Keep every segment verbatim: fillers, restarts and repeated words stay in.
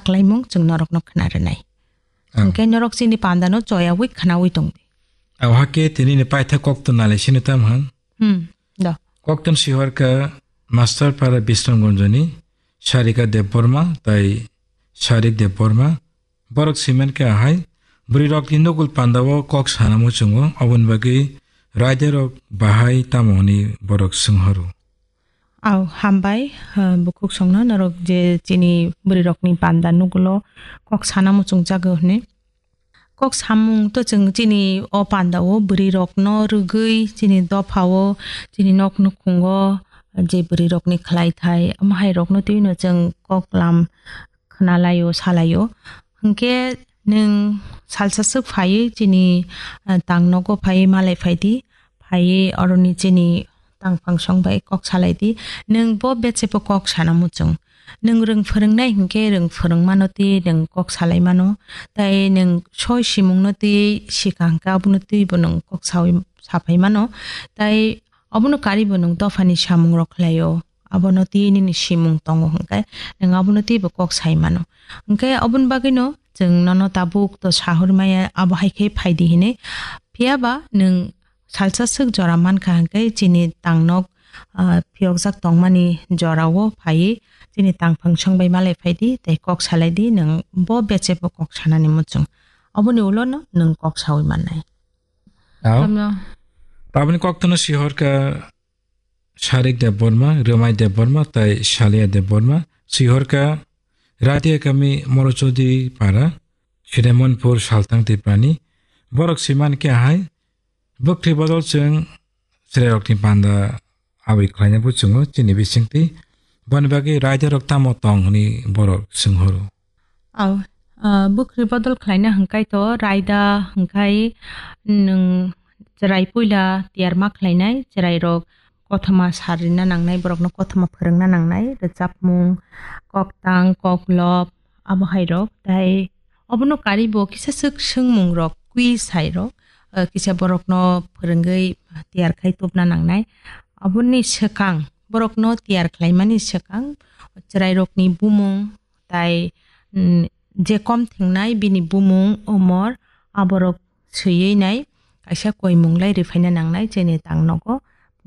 kwlaimung chwng norokno khna rwnai. Ang. Hwnkhe norok chini pandano choyawi khnawi tongdi. Ang hakhe tini ni paitha koktwna le sini tam han. Hmm, do. Koktwna sihor kha Master Para Bisramganjoni Sarika Debbarma tai Sarik Debbarma. Borok siman khe ahai, bwrwi rokni nukul pandao kok sana muchungo, oboni bagwi raida rok bahai tamo hwnwi borok swnghoro. Au, hambai, ha, bukhuk songno norok je chini bwrwi rokni panda nugulo kok sana muchung jago hwnwi. Kok samung to chwng chini o panda o bwrwi rokno rwgwi chini dopha o chini nok nukhungo je bwrwi rokni khlai thai omo hai rokno twi no chwng kok lam khna lai o, sa lai o. Hwnkhe nwng salsa swk phaiwi chini, ah, tang nogo phaiwi malai phai di. Phaiwi oroni chini tangphang song bai kok salai di. Nwng bo beche bo kok sana muchung. Nwng rwng phwrwngnai hwnkhe rwng phwrwng mano twi nwng kok salai mano. Tai nwng soi simung no twi sika hwnkhe abono twi bo nwng kok sawi, saphai mano. Tai obono karibo nwng dophani samung rok khlai o. Abono twi nini simung tongo hwnkhe nwng abono twibo kok sai mano. Hwnkhe oboni bagwino chwng nono tabuk to sahor maya abo hai khe phai di hinwi. Phiya ba nwng salsa swk jora man kha hwnkhe chini tang nok, ah, phiyokjak tongmani jora o phaiwi chini tangphang song bai malai phai di tei kok salai di nwng bo beche bo kok sanani muchung. Oboni ulo no nwng kok sawi mannai. Tamo. Taboni koktwno sihor kha Sarik Debbarma, Rwmai Debbarma tai Salia Debbarma. Sihor kha Radia kami Morochodi para, Sinemonpur Saltang Tiprani. Borok siman khe ahai, bwkhri bodol chwng chwrairokni panda aboi khlaina buchungo chini bisingtwi. Boni bagwi raida rok tamo tong hwnwi borok swnghoro. Au, ah, bwkhri bodol khlaina hwnkhe to raida hwnkhe nwng chwrai puila tiyar ma khlainai, chwrairok kothoma sar rina nangnai, borokno kothoma phwrwngna nangnai, rwchapmung, koktang, koklop, abo hai rok. Tai obono karibo kisa swk swngmung rok, quiz hai rok, ah, kisa borokno phwrwngwi tiyar khai tubna nangnai. Aboni swkang, borokno tiyar khlaimani swkang, chwrairokni bumung, tai, mm, je kom thengnai bini bumung, umor, aborok swiwi nai kaisa koimung lai riphaina nangnai chini tang nogo.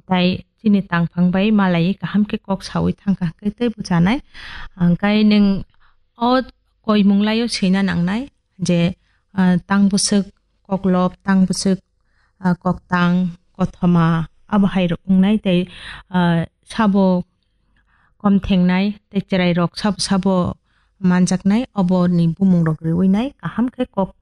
Tai chini tangphang bai malai kaham khe kok sawi thangkha hwnkhe tei bwchanai. Hwnkhe nwng o koimung laio swina nangnai je, ah, tang bwswk koklop, tang bwswk, ah, koktang, kothoma, abo hai rok wngnai tei, ah, sabo kom thengnai tei chwrairok sabo sabo manjaknai, oboni bumungrok riwi nai kaham khe kok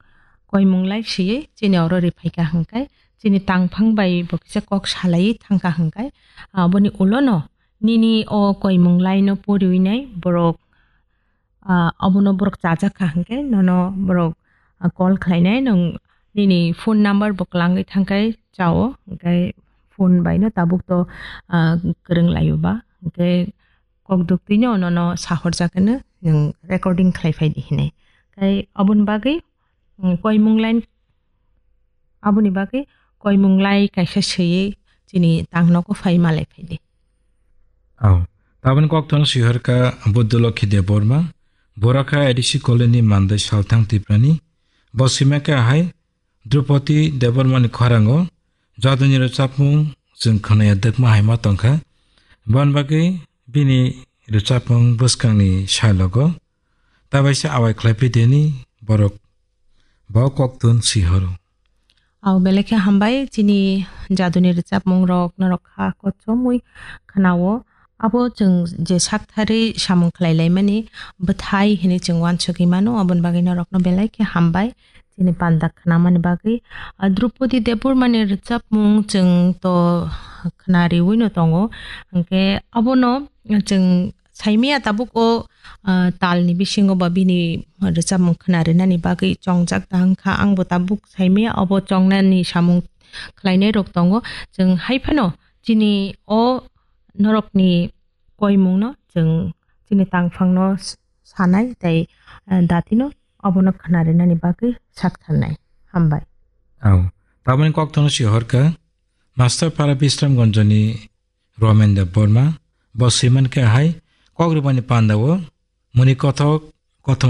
koimung lai swiwi chini oro riphaikha hwnkhe chini tangphang bai bo kisa kok salaiwi thangkha hwnkhe, aboni ulono nini o koimung laino poriwi nai borok, ah, abono borok chajakha hwnkhe nono borok, ah, call khlainai, nwng nini phone number bo kwlangwi thangkhai chao, hwnkhe phone baino tabuk to, ah, kwrwng laio ba, hwnkhe kok duktwino nono sahorjak hwnwi nwng recording khlai phai di hinwi. Tei oboni bagwi, mm, koimung line, aboni bagwi koimung lai kaisa swiwi chini tang nogo phai malai phai di. Au. Taboni koktwno sihor kha Buddhalokhi Debbarma, Boraka A D C Colony ni mandai Salthang Tiprani. Bo swima khe ahai, Drupadi Debbarmani khorang o jaduni rwchapmung chwng khwnaya dwkma hai ma tongkha. Boni bagwi bini rwchapmung bwskangni salogo tabaisa awai khlai phi deni borok bo koktwno sihoro. Au belai khe hambai chini jaduni rwchapmung rok norok kha kochomwi khwnao. Abo chwng je saktharwi samung khlai laimani bwthai hinwi chwng uansugwi mano, aboni bagwi norokno belai khe hambai chini panda khnamani bagwi. Ah, Drupadi Debbarmani rwchapmung chwng to khna riwi no tongo, hwnkhe abono chwng saimaya tabuk o, ah, talni bisingo ba bini rwchapmung khna rinani bagwi chongjak ta wngkha, ang bo tabuk saimaya obo chongnani samung khlainai rok tongo. Chwng hai phano chini o norokni koimungno chwng chini tangphangno s-, sanai tei, eh, datino obono khna rinani bagwi sak tharnai. Hambai. Au. Taboni koktwno sihor kha Master Para Bisramganjoni Romen Debbarma. Bo swiman khe hai kok rwmani panda o muni kothok kothoma